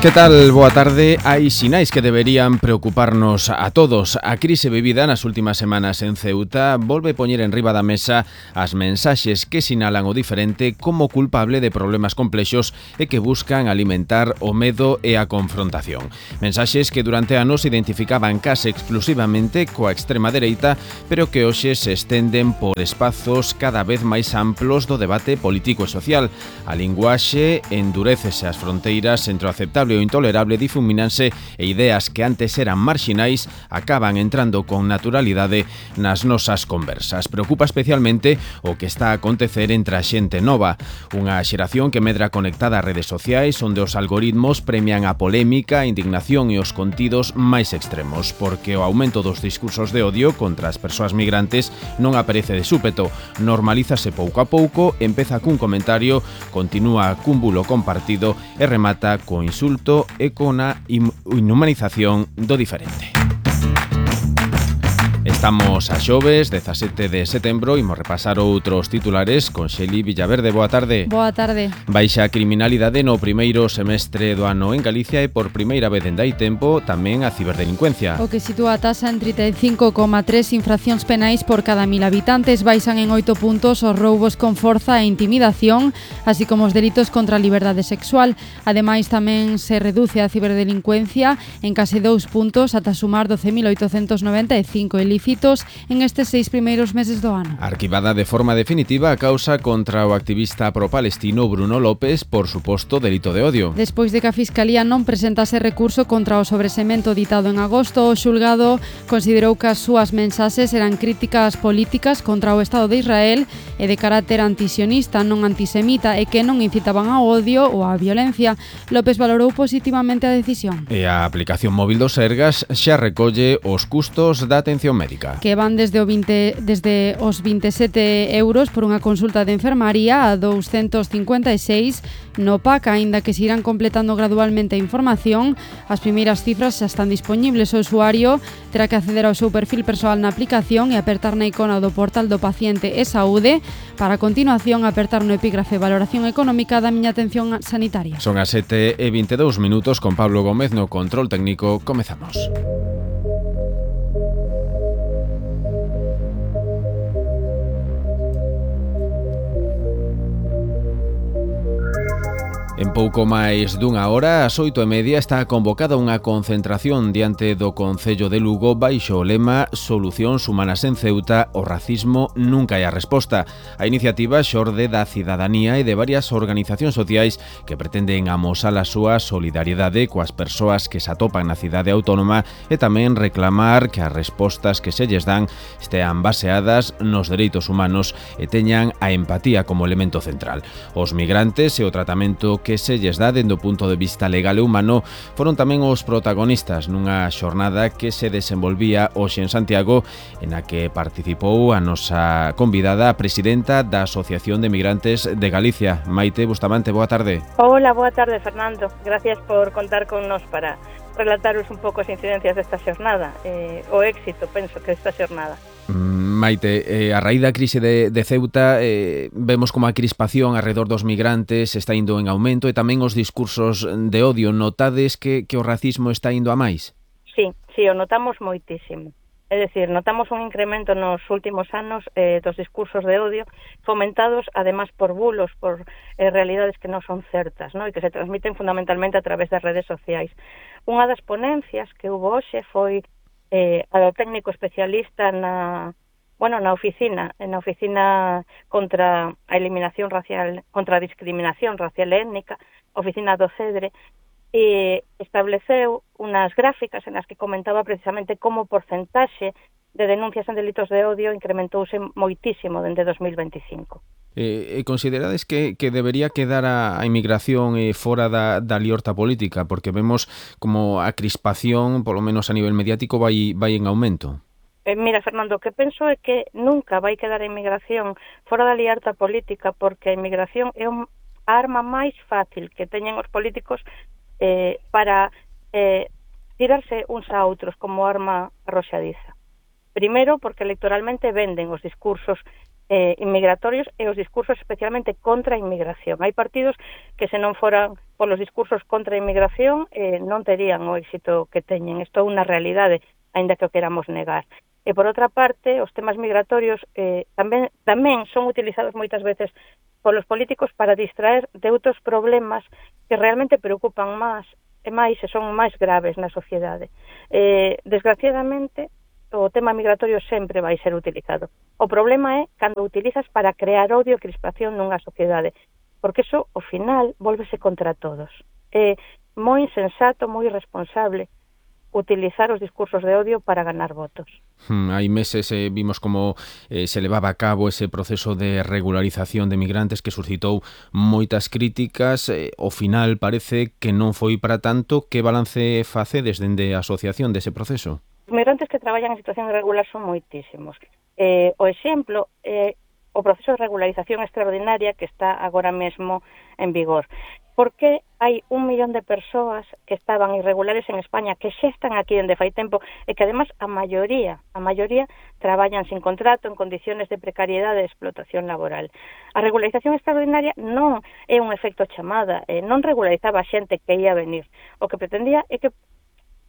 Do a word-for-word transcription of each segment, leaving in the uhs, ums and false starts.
Que tal? Boa tarde. Hai sinais que deberían preocuparnos a todos. A crise vivida nas últimas semanas en Ceuta volve poñer en riba da mesa as mensaxes que sinalan o diferente como culpable de problemas complexos e que buscan alimentar o medo e a confrontación. Mensaxes que durante anos identificaban case exclusivamente coa extrema dereita, pero que hoxe se estenden por espazos cada vez máis amplos do debate político e social. A linguaxe endurécese as fronteiras entre o aceptable o intolerable, difumínanse e ideas que antes eran marxinais acaban entrando con naturalidade nas nosas conversas. Preocupa especialmente o que está a acontecer entre a xente nova, unha xeración que medra conectada ás redes sociais onde os algoritmos premian a polémica, a indignación e os contidos máis extremos, porque o aumento dos discursos de odio contra as persoas migrantes non aparece de súpeto, normalízase pouco a pouco, empeza cun comentario, continúa cun bulo compartido e remata co insulto e con a inhumanización do diferente. Estamos a xoves, dezasete de setembro, imos repasar outros titulares con Xeli Villaverde. Boa tarde. Boa tarde. Baixa a criminalidade no primeiro semestre do ano en Galicia e por primeira vez en dai tempo tamén a ciberdelincuencia. O que sitúa a tasa en trinta e cinco coma tres infraccións penais por cada mil habitantes. Baixan en oito puntos os roubos con forza e intimidación, así como os delitos contra a liberdade sexual. Ademais, tamén se reduce a ciberdelincuencia en case dous puntos ata sumar doce mil oitocentos noventa e cinco ilícitos en estes seis primeiros meses do ano. Arquivada de forma definitiva a causa contra o activista pro-palestino Bruno López por suposto delito de odio. Despois de que a Fiscalía non presentase recurso contra o sobresemento ditado en agosto, o xulgado considerou que as súas mensaxes eran críticas políticas contra o Estado de Israel e de carácter antisionista, non antisemita, e que non incitaban ao odio ou á violencia. López valorou positivamente a decisión. E a aplicación móvil do Sergas xa recolle os custos da atención médica, que van desde o vinte, desde os vinte e sete euros por unha consulta de enfermaría a douscentos cincuenta e seis no P A C, aínda que se irán completando gradualmente a información. As primeiras cifras xa están disponibles. O usuario terá que acceder ao seu perfil persoal na aplicación e apertar na icona do portal do paciente e saúde para a continuación apertar no epígrafe valoración económica da miña atención sanitaria. Son as sete e vinte e dous minutos con Pablo Gómez no control técnico. Comezamos. En pouco máis dunha hora, ás oito e media, está convocada unha concentración diante do Concello de Lugo baixo o lema Solucións humanas en Ceuta, o racismo nunca é a resposta. A iniciativa xorde da cidadanía e de varias organizacións sociais que pretenden amosar a súa solidariedade coas persoas que se atopan na cidade autónoma e tamén reclamar que as respostas que se lles dan estean baseadas nos dereitos humanos e teñan a empatía como elemento central. Os migrantes e o tratamento que se lles dá dende o punto de vista legal e humano foron tamén os protagonistas nunha xornada que se desenvolvía hoxe en Santiago, en a que participou a nosa convidada, a presidenta da Asociación de Migrantes de Galicia, Maite Bustamante. Boa tarde. Hola, boa tarde, Fernando. Gracias por contar con nos para relataros un pouco as incidencias desta xornada, eh, o éxito, penso, que desta xornada. Maite, eh, a raíz da crise de, de Ceuta eh, vemos como a crispación alrededor dos migrantes está indo en aumento e tamén os discursos de odio. Notades que, que o racismo está indo a máis? Sí, sí, o notamos moitísimo. É dicir, notamos un incremento nos últimos anos eh, dos discursos de odio fomentados, además, por bulos, por eh, realidades que non son certas, ¿no? E que se transmiten fundamentalmente a través das redes sociais. Unha das ponencias que hubo hoxe foi eh, a do técnico especialista na, bueno, na oficina, na oficina contra a eliminación racial, contra a discriminación racial e étnica, oficina do CEDRE, e estableceu unas gráficas en as que comentaba precisamente como o porcentaxe de denuncias en delitos de odio incrementouse moitísimo dende dos mil veinticinco. Eh, considerades que, que debería quedar a, a inmigración eh, fora da, da liorta política? Porque vemos como a crispación, polo menos a nivel mediático, vai, vai en aumento. Eh, mira, Fernando, o que penso é que nunca vai quedar a inmigración fora da liorta política, porque a inmigración é un, a arma máis fácil que teñen os políticos eh, para eh, tirarse uns a outros como arma arroxadiza. Primeiro, porque electoralmente venden os discursos eh, inmigratorios e os discursos especialmente contra a inmigración. Hai partidos que se non foran polos discursos contra a inmigración eh, non terían o éxito que teñen. Isto é unha realidade, aínda que o queramos negar. E, por outra parte, os temas migratorios eh, tamén, tamén son utilizados moitas veces polos políticos para distraer de outros problemas que realmente preocupan máis e máis e son máis graves na sociedade. Eh, desgraciadamente, o tema migratorio sempre vai ser utilizado. O problema é cando o utilizas para crear odio e crispación nunha sociedade, porque eso, ao final, volvese contra todos. É moi insensato, moi irresponsable utilizar os discursos de odio para ganar votos. Hmm, hai meses eh, vimos como eh, se levaba a cabo ese proceso de regularización de migrantes que suscitou moitas críticas. Eh, ao final parece que non foi para tanto. Que balance facedes dende a asociación dese proceso? Os migrantes que traballan en situación irregular son moitísimos. Eh, o exemplo é eh, o proceso de regularización extraordinaria que está agora mesmo en vigor. Porque hai un millón de persoas que estaban irregulares en España, que xa están aquí dende fai tempo, e que además a maioría, a maioría traballan sin contrato, en condiciones de precariedade e explotación laboral. A regularización extraordinaria non é un efecto chamada, eh, non regularizaba a xente que ia venir. O que pretendía é que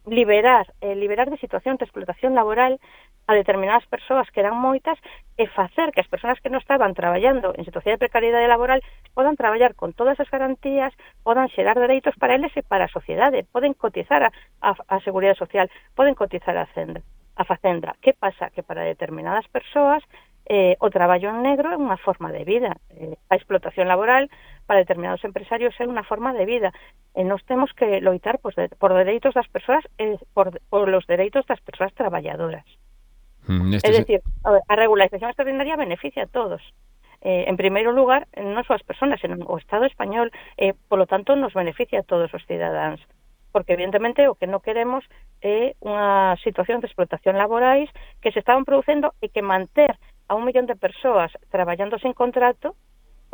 liberar, eh, liberar de situación de explotación laboral a determinadas persoas que eran moitas e facer que as persoas que non estaban traballando en situación de precariedade laboral podan traballar con todas as garantías, podan xerar dereitos para eles e para a sociedade, poden cotizar a, a, a Seguridade Social, poden cotizar a Facenda. A Facenda. Que pasa? Que para determinadas persoas eh, o traballo en negro é unha forma de vida. Eh, a explotación laboral para determinados empresarios é unha forma de vida. E nós temos que loitar por, por dereitos das persoas e por, por los dereitos das persoas traballadoras. Mm, é dicir, a, ver, a regularización extraordinaria beneficia a todos. Eh, en primeiro lugar, non só as persoas, senón o Estado español, eh, polo tanto, nos beneficia a todos os cidadáns. Porque, evidentemente, o que non queremos é unha situación de explotación laborais que se estaban producendo e que manter a un millón de persoas traballando sen contrato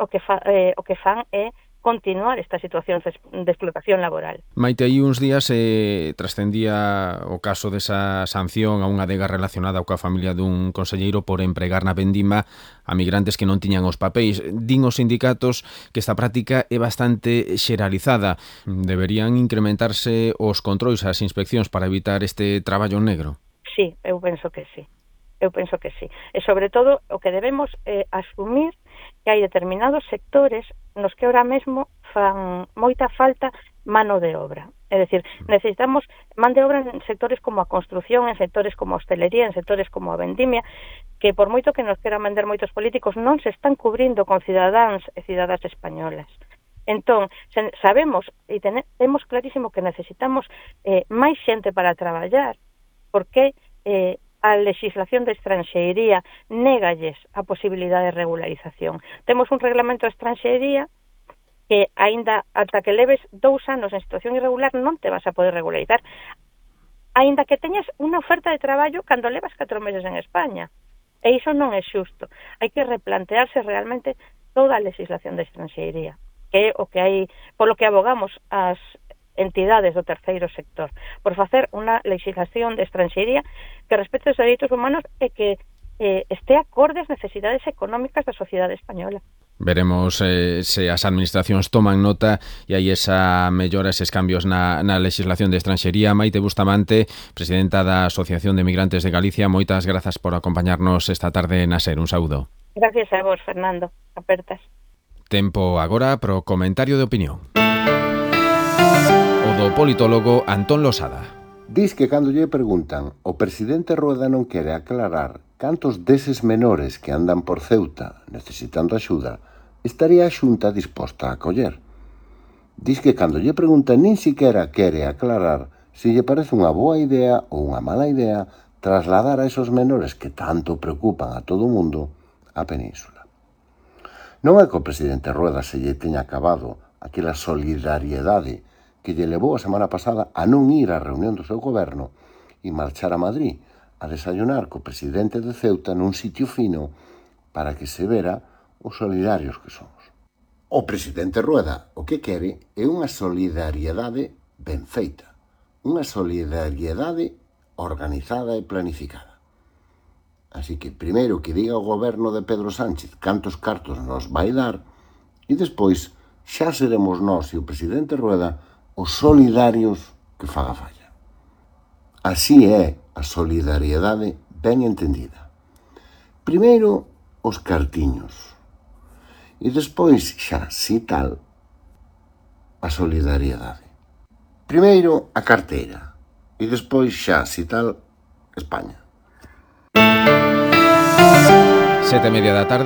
o que, fa, eh, o que fan é continuar esta situación de explotación laboral. Maite, aí uns días eh, trascendía o caso desa sanción a unha adega relacionada coa familia dun conselleiro por empregar na vendima a migrantes que non tiñan os papéis. Din os sindicatos que esta práctica é bastante xeralizada. Deberían incrementarse os controis, as inspeccións para evitar este traballo negro? Sí, eu penso que sí. Eu penso que sí. E, sobre todo, o que debemos eh, asumir que hai determinados sectores nos que ahora mesmo fan moita falta mano de obra. É dicir, necesitamos man de obra en sectores como a construción, en sectores como a hostelería, en sectores como a vendimia, que por moito que nos queran vender moitos políticos non se están cubrindo con cidadáns e cidadas españolas. Entón, sabemos e temos clarísimo que necesitamos eh, máis xente para traballar, porque eh, a legislación de estranxeiría négalles a posibilidade de regularización. Temos un reglamento de estranxeiría que aínda ata que leves dous anos en situación irregular non te vas a poder regularizar, aínda que teñas unha oferta de traballo cando levas catro meses en España. E iso non é xusto. Hai que replantearse realmente toda a legislación de estranxeiría, que é o que hai, polo que abogamos as entidades do terceiro sector, por facer unha legislación de estranxeiría que respete os dereitos humanos e que eh, este acorde ás necesidades económicas da sociedade española. Veremos eh, se as administracións toman nota e hai esa mellora, eses cambios na, na legislación de estranxería. Maite Bustamante, presidenta da Asociación de Migrantes de Galicia, moitas grazas por acompañarnos esta tarde na SER. Un saúdo. Gracias a vos, Fernando. Apertas. Tempo agora pro comentario de opinión. O do politólogo Antón Losada. Dis que cando lle preguntan o presidente Rueda non quere aclarar cantos deses menores que andan por Ceuta necesitando axuda estaría a Xunta disposta a acoller. Dis que cando lle preguntan nin siquiera quere aclarar se lle parece unha boa idea ou unha mala idea trasladar a esos menores que tanto preocupan a todo o mundo á península. Non é que o presidente Rueda se lle teña acabado aquela solidariedade que lle levou a semana pasada a non ir á reunión do seu goberno e marchar a Madrid a desayunar co presidente de Ceuta nun sitio fino para que se vera os solidarios que somos. O presidente Rueda o que quere é unha solidariedade ben feita, unha solidariedade organizada e planificada. Así que primeiro que diga o goberno de Pedro Sánchez cantos cartos nos vai dar e despois xa seremos nós e o presidente Rueda os solidarios que faga falla. Así é a solidariedade ben entendida. Primeiro, os cartiños. E despois, xa, si tal, a solidariedade. Primeiro, a carteira. E despois, xa, si tal, España. Sete e media da tarde.